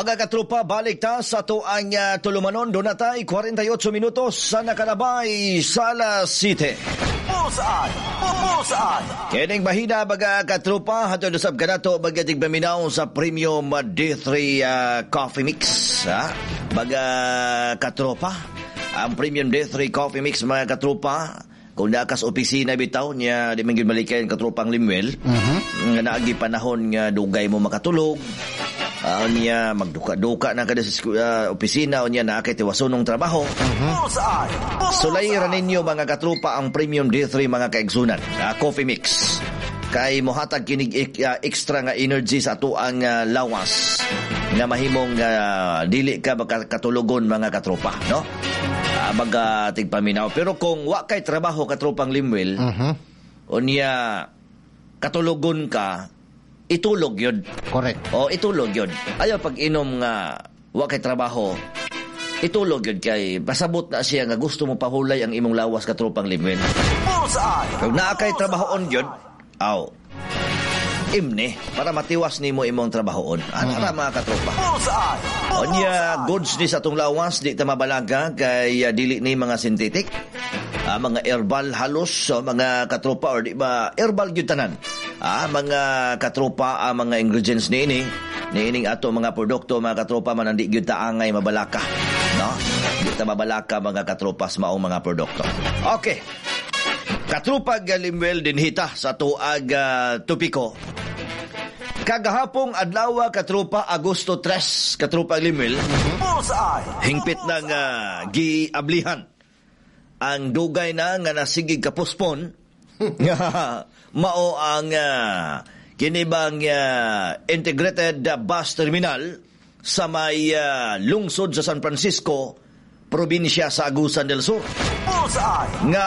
Mga katropa, balik ta sa atuang tulumanon. Duna tay 48 minutos sa nakalabay sa alas 7. Bullseye! Bullseye! Kining bahina, mga katropa, hatod usab kanato, mga tigpaminaw, sa Premium D3 Coffee Mix. Ha? Mga katropa, ang Premium D3 Coffee Mix, mga katropa, kung naa kas opisina bitaw niya, di man gyud malikayan, katropang Limwel, nga naagi panahon nga dugay mo makatulog, niya magduka-duka na kada sa opisina unya naa kay tiwasunong trabaho. Bullseye! Sulay ra ninyo, mga katropa, ang Premium D3, mga kaigsunan, coffee mix. Kay mohatag kinig extra nga energy sa atuang lawas nga mahimong dili ka makatulugon, mga katropa, no? Mga tigpaminaw. Pero kung wa kay trabaho, katropang Limwel, unya katulogon ka, itulog yun. Correct. O itulog yun. Ayaw pag inom nga wa kay trabaho, itulog yun kay pasabot na siya nga gusto mo pahulay ang imong lawas, katropang Limwel. Bullseye! Kung naa kay trabahoon yun, aw, imne, para matiwas nimo imong trabahoon. Ano ra, mga katropa? Bullseye! Unya, goods ni sa atong lawas, di ta mabalaga kay dili ni mga synthetic. Mga herbal halos, so, mga katropa, or di ba, herbal gyud tanan. Mga katropa, ang mga ingredients niini, niining ato mga produkto, mga katropa, man di gyud ta angay mabalaka. No? Di ta mabalaka, mga katropa, sa maong mga produkto. Okay. Katropa Galimwel, dinhita sa tuag topiko. Kagahapong adlaw, katropa, Agosto 3, katropa Limwel, Bullseye! hingpit ng giablihan ang dugay na nga nasigig kapospon nga mao ang kinibang integrated bus terminal sa may lungsod sa San Francisco, probinsya sa Agusan del Sur. Bullseye! Nga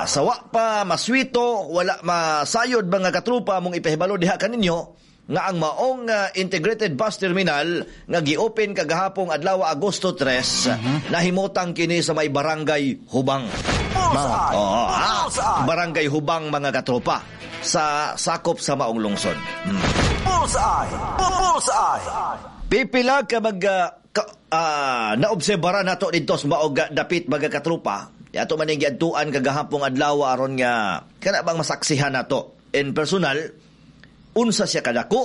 sawa pa maswito, wala masayod, mga katrupa, mong ipahibalo diha kaninyo nga ang maong integrated bus terminal nga gi-open kagahapong adlaw, Agosto 3, nahimutang kini sa may Barangay Hubang. Bullseye! Oo, Bullseye! Barangay Hubang, mga katropa, sa sakop sa maong lungsod. Bullseye! Bullseye! Pipila ka mag naobserbara nato didto sa maog dapit, mga katropa. Ato man ning giadtuan kagahapong adlaw aron nga kana bang masaksihan nato in personal unsa siya kadako.